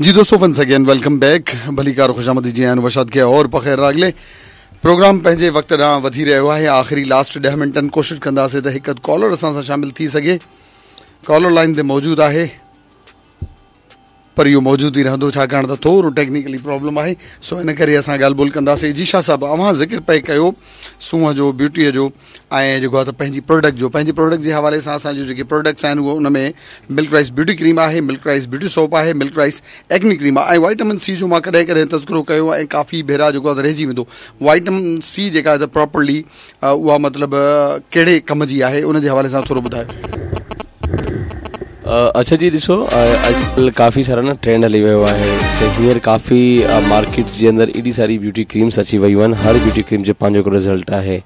جي دوستو once again welcome back ڀليڪار خوش آمديد جي آيان وشاد کي اور پخير راڳلي پروگرام پنهنجي وقت ڏانهن وڌي رهيو آهي آخري لاسٽ 10 منٽن ڪوشش ڪنداسين ته هڪ ڪالر اسان سان شامل ٿي سگهي ڪالر لائن تي موجود آهي پر اهو موجود ئي رهندو ڇاڪاڻ ته ٿورو ٽيڪنيڪلي پرابلم آهي سو ان ڪري اسان ڳالهه ٻولهه ڪنداسين جي شاهه صاحب اوهان ذڪر پئي ڪيو سونهن جو بيوٽيء جو ۽ جيڪو آهي ته پنهنجي پروڊڪٽ جو پنهنجي پروڊڪٽ جي حوالي سان اسان جون جيڪي پروڊڪٽس آهن اهو ان ۾ ملڪ رائس بيوٽي ڪريم آهي ملڪ رائس بيوٽي سوپ آهي ملڪ رائس ايڪني ڪريم آهي ۽ وائٽمن سي جو مان ڪڏهن ڪڏهن تذڪرو ڪيو ۽ ڪافي ڀيرا جيڪو آهي رهجي ويندو وائٽمن سي جيڪا آهي ته پراپرلي اها مطلب ڪهڙي ڪم جي آهي ان جي حوالي سان ٿورو ٻڌايو اڇا جي ڏسو اڄڪلهه ڪافي سارا نه ٽرينڊ هلي ويو آهي ته هينئر ڪافي مارڪيٽ جي اندر ايڏي ساري بيوٽي ڪريمس اچي ويون آهن هر بيوٽي ڪريم جو پنهنجو هڪڙو رزلٽ آهي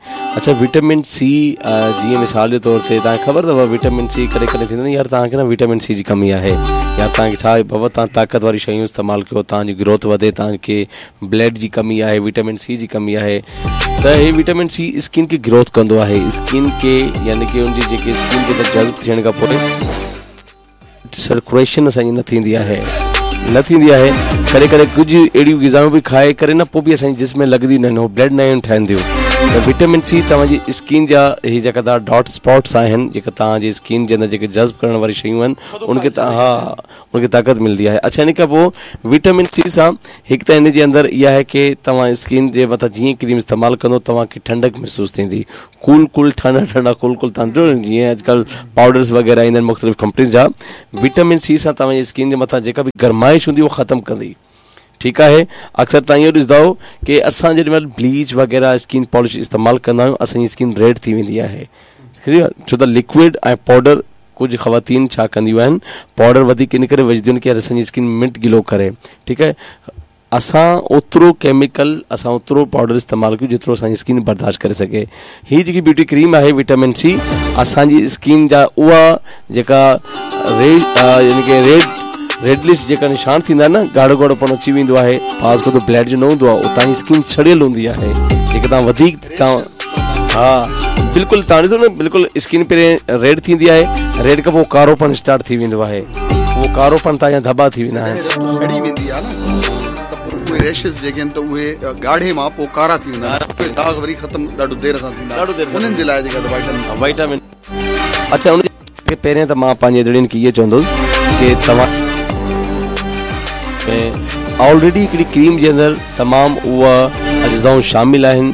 اڇا وٽامن سي جيئن مثال جي طور تي توهان کي خبر اٿو وٽامن سي ڪڏهن ڪڏهن ٿيندو نه يار توهان کي نه وٽامن سي جي ڪمي آهي يا توهان کي ڇا آهي بابا توهان طاقت واري شيون استعمال ڪيو توهان جي گروٿ وڌي توهان کي بلڊ جي ڪمي آهي وٽامن سي جي ڪمي آهي ته هي وٽامن سي اسڪن کي گروٿ ڪندو آهي اسڪن کي يعني ڪي ان جي جيڪي اسڪن جي اندر جذب ٿيڻ کان پوء سرڪوليشن اسان جي نه ٿيندي آهي نه ٿيندي آهي ڪڏهن ڪڏهن ڪجهه اهڙيون غذائون به کائي ڪري نه پوء به اسان جي جسم ۾ لڳنديون نه آهن هو بلڊ نه آهن ٺهنديون ته وٽامن سي توهان جي اسڪن جا هي جيڪا توهان ڊاٽ اسپاٽس آهن جيڪا توهان جي اسڪن جي اندر جيڪي جذب ڪرڻ واري شيون آهن ان کي ها ان کي طاقت ملندي آهي اڇا ان کان پوء وٽامن سي سان هڪ ته ان جي اندر اها آهي ڪي توهان اسڪن جي مٿان جيئن ڪريم استعمال ڪندو توهان کي ٺنڊڪ محسوس ٿيندي ڪول ڪول ٺنڊا ٺنڊا ڪول ڪول تان جو جيئن اڄڪلهه پائوڊرز وغيره ايندا آهن مختلف ڪمپنيز جا وٽامن سي سان توهان جي اسڪن جي مٿان جيڪا به گرمائش هوندي اها ختم ڪندي ٺيڪ آهي اڪثر توهان اهو ڏسندا آهيو ڪي اسان جيڏي مهل بليچ وغيره اسڪن پالش استعمال ڪندا آهيون اسان جي اسڪن ريڊ ٿي ويندي آهي ڇو ته لڪوڊ ۽ پائوڊر ڪجهه خواتين ڇا ڪنديون آهن پائوڊر وڌيڪ ان ڪري وجهنديون آهن ڪي اسان جي اسڪن منٽ گلو ڪري ٺيڪ آهي اسان اوترو ڪيميڪل اسان اوترو پائوڊر استعمال ڪيون جيترو اسان جي اسڪن برداشت ڪري سگهي هي جيڪي بيوٽي ڪريم آهي وٽامن سي اسان جي اسڪن جا اها جيڪا ريڊ يعني ڪي ريڊ ريڊلش جيڪا نشان ٿيندا آهن نه ڳاڙهو ڳاڙهو پڻ اچي ويندو آهي بعض اوقات بلڊ جو نه هوندو آهي اتان جي اسڪن سڙيل هوندي آهي جيڪي تان وڌيڪ تان ها بلڪل تان ڏسو نه بلڪل اسڪن پهرين ريڊ ٿيندي آهي ريڊ کان پوء ڪارو پڻ اسٽارٽ ٿي ويندو آهي اهو ڪارو پڻ تان جا ڌٻا ٿي ويندا آهن سڙي ويندي آهي نه ته پوء اهي ريشز جيڪي آهن ته اهي ڳاڙهي مان پوء ڪارا ٿي ويندا آهن اهي داغ وري ختم ڏاڍو دير سان ٿيندا ڏاڍو دير سان انهن جي لاء جيڪا وائٽامن سي وائٽامن اڇا ان کي پهرين ته مان پنهنجي ادڙين کي اهو چوندس ڪي توهان آلريڊي هڪڙي ڪريم جي اندر تمام اها اجزائون شامل آهن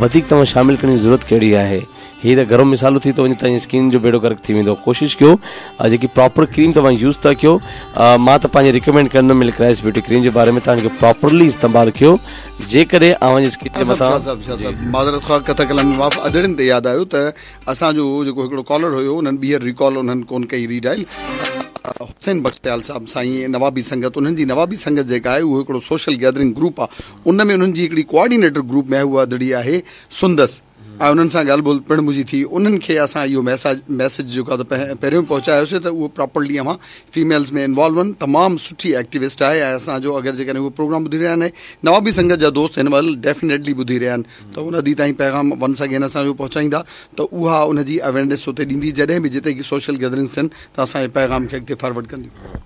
وڌيڪ توهان شامل ڪرڻ جي ضرورت ڪهڙي آهي هي ته گرم مصالحو ٿي ٿو وڃي توهان جي اسڪن جو ٻيڙو غرق ٿي ويندو ڪوشش ڪيو جيڪي پراپر ڪريم توهان يوز ٿا ڪيو مان ته پنهنجي ريڪمينڊ ڪندم ملڪ رائس بيوٽي ڪريم جي باري ۾ توهان کي پراپرلي استعمال ڪيو جيڪڏهن اوهان جي اسڪن جي مٿان معذرت خواهه ڪٿا ڪلام ۾ معاف ادڙين تي ياد آيو ته اسان جو جيڪو هڪڙو ڪالر هيو انهن ٻيهر ريڪال انهن ڪون ڪئي ري ڊائل حسين بخش سيال صاحب سائين نوابي سنگت انهن جي نوابي سنگت جيڪا آهي اهو هڪڙو سوشل گيدرنگ گروپ آهي ان ۾ انهن جي هڪڙي ڪوآرڊينيٽر گروپ ۾ آهي اها ادڙي آهي سندس ۽ انهن سان ڳالهه ٻولهه پڻ منهنجي ٿي انهن کي اسان اهو ميساج ميسيج جيڪو آهي ته پهريون پهچايوسي ته اهو پراپرلي اوهان فيميلز ۾ انوالو آهن تمام سٺي ايڪٽيوسٽ آهي ۽ اسان جو اگر جيڪڏهن اهو پروگرام ٻڌي رهيا آهن نوابي سنگت جا دوست هن مهل ڊيفينيٽلي ٻڌي رهيا آهن ته ان ادي تائين پيغام ونس اگين اسان جو پهچائيندا ته اها ان جي اويرنيس اتي ڏيندي جڏهن به جتي سوشل گيدرنگس ٿين ته اسان جي پيغام کي اڳتي فارورڊ ڪنديون.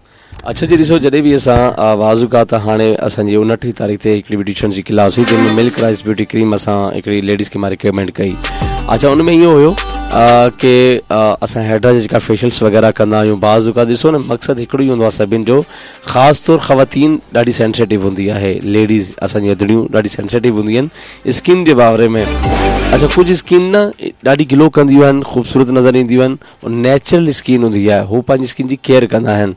اڇا جي ڏسو جڏهن به اسان بعض اوقات هاڻي اسان جي 29 تاريخ تي هڪڙي بيوٽيشنس جي ڪلاس هئي جنهن ۾ ملڪ رائس بيوٽي ڪريم اسان هڪڙي ليڊيز کي مان ريڪمينڊ ڪئي اڇا ان ۾ اهو هيو ڪي اسان هيڊرا جا جيڪا فيشلس وغيره ڪندا آهيون بعض اوقات ڏسو نه مقصد هڪڙو ئي هوندو آهي سڀن جو خاص طور خواتين ڏاڍي سينسيٽو هوندي آهي ليڊيز اسان جي ادڙيون ڏاڍي سينسيٽو هونديون آهن اسڪن جي باري ۾ اڇا ڪجهه اسڪن نه ڏاڍي گلو ڪنديون آهن خوبصورت نظر اينديون آهن نيچرل اسڪن هوندي آهي هو پنهنجي اسڪن جي ڪيئر ڪندا آهن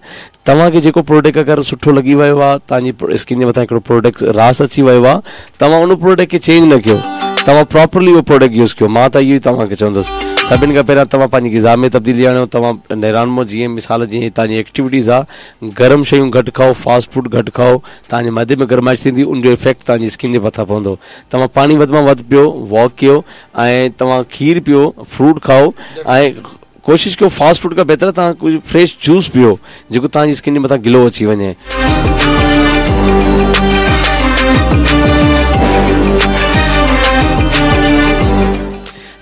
توهان کي جيڪو پروڊڪٽ اگر سٺو لڳي ويو آهي توهان جي اسڪن جي مٿان هڪڙو پروڊڪٽ راس اچي ويو آهي توهان ان پروڊڪٽ کي چينج نه ڪيو توهان پراپرلي اهو پروڊڪٽ يوز ڪيو مان ته اهو ئي توهان کي چوندس سڀن کان پهريان توهان پنهنجي غذا ۾ تبديلي آڻيو توهان نيران مو جيئن مثال جيئن توهان جي ايڪٽيوٽيز آهي گرم شيون گهٽ کائو فاسٽ فوڊ گهٽ کائو توهان جي معدي ۾ گرمائش ٿيندي ان جو افيڪٽ توهان جي اسڪن جي مٿان پوندو توهان پاڻي وڌ مان وڌ پيو واڪ ڪيو ۽ توهان کير پيو فروٽ کائو ۽ ڪوشش ڪيو فاسٽ فوڊ کان بهتر توهان ڪجهه فريش جوس پيو جيڪو توهان جي اسڪن جي مٿان گلو اچي وڃي.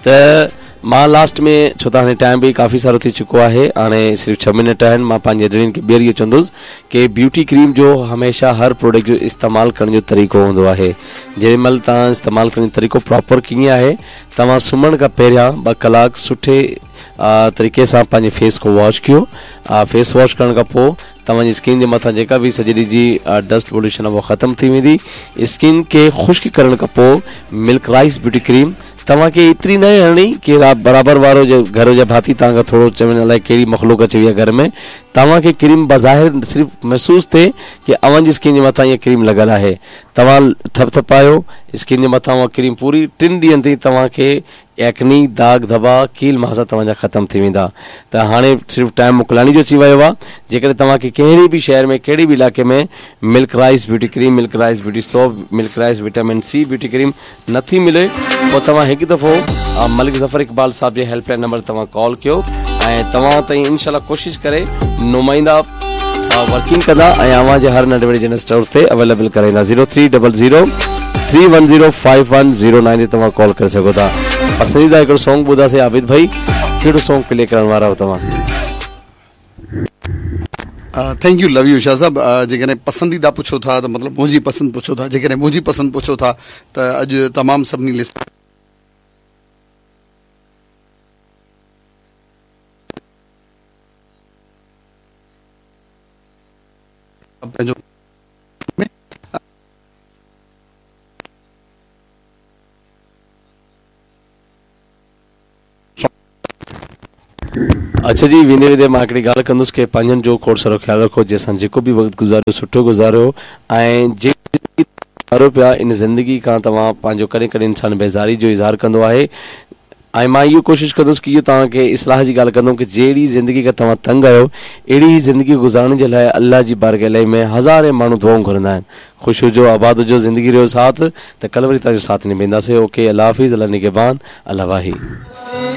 ته مان لاسٽ ۾ ڇو ته هاڻي ٽائيم به ڪافي سارو ٿي چڪو آهي هاڻي صرف ڇهه منٽ آهن مان پنهنجي ادڙين کي ٻيهر اهو چوندس ڪي بيوٽي ڪريم جو هميشه هر پروڊڪٽ جو استعمال ڪرڻ جو طريقو هوندو آهي جنهن مهل توهان استعمال ڪرڻ جو طريقو پراپر ڪيئن آهي توهان سمهڻ کان پهريان ٻه ڪلاڪ سٺي طريقي سان پنهنجي فيس کي واش ڪيو فيس واش ڪرڻ کان پوء توهان جي اسڪن جي مٿان جيڪا به سڄي ڏينهن جي ڊسٽ پوليوشن آهي اها ختم ٿي ويندي اسڪن کي خشڪ ڪرڻ کان پوء ملڪ رائس بيوٽي ڪريم توهان کي ايتري ناهي هڻڻي ڪي برابر وارو جو گهر جا ڀاتي توهان کان ٿورو چون الائي ڪهڙي مخلوق اچي وئي آهي گهر ۾ توهان کي ڪريم بظاهر صرف محسوس ٿئي ڪي اوهان جي اسڪن جي مٿان اها ڪريم لڳل آهي توهان ٿپ ٿپايو اسڪن جي مٿان اها ڪريم پوري ٽن ڏينهن تائين توهان کي ايڪني، داغ ڌٻا، ڪيل مهاسا توهان جا ختم ٿي ويندا ته هاڻي صرف ٽائيم موڪلائڻ جو اچي ويو آهي جيڪڏهن توهان کي ڪهڙي به شهر ۾ ڪهڙي به علائقي ۾ milk rice beauty cream, milk rice beauty soap, milk rice vitamin C beauty cream نٿي ملي پوء توهان هڪ دفعو ملڪ ظفر اقبال صاحب جي هيلپ لائين نمبر توهان ڪال ڪيو ۽ توهان تائين انشاء الله ڪوشش ڪري نمائندا ورڪنگ ڪندا ۽ اوهان جي هر ننڍي وڏي جنرل اسٽور تي اويليبل ڪرائيندا zero three double zero three one zero five one zero nine تي توهان ڪال ڪري سگهو ٿا پسنديده هڪڙو سونگ ٻڌاسي عابد ڀائي ڪهڙو سونگ پلي ڪرڻ وارا آهيو توهان thank you love you Shah صاحب جيڪڏهن پسنديده پڇو ٿا ته مطلب منهنجي پسند پڇو ٿا جيڪڏهن منهنجي پسند پڇو ٿا ته اڄ تمام سڀني لسٽ پنهنجو اڇا جي ويندي ويندي مان هڪڙي ڳالهه ڪندس ڪي پنهنجن جو کوڙ سارو خيال رکو جنهن سان جيڪو به وقت گذاريو سٺو گذاريو ۽ جيڪي زندگي گذاريو پيا ان زندگي کان توهان پنهنجو ڪڏهن ڪڏهن انسان بيزاري جو اظهار ڪندو آهي ۽ مان اهو ڪوشش ڪندس ڪي اهو توهان کي اصلاح جي ڳالهه ڪندم ڪي جهڙي زندگي کان توهان تنگ آهيو اهڙي ئي زندگي گذارڻ جي لاء الله جي بارگاهه الاهي ۾ هزارين ماڻهو دعائون گهرندا آهن خوش هجو آباد هجو زندگي رهيو ساٿ ته ڪل وري توهان جو ساٿ نڀائينداسين اوڪي الله حافظ الله نگهبان الله واهي.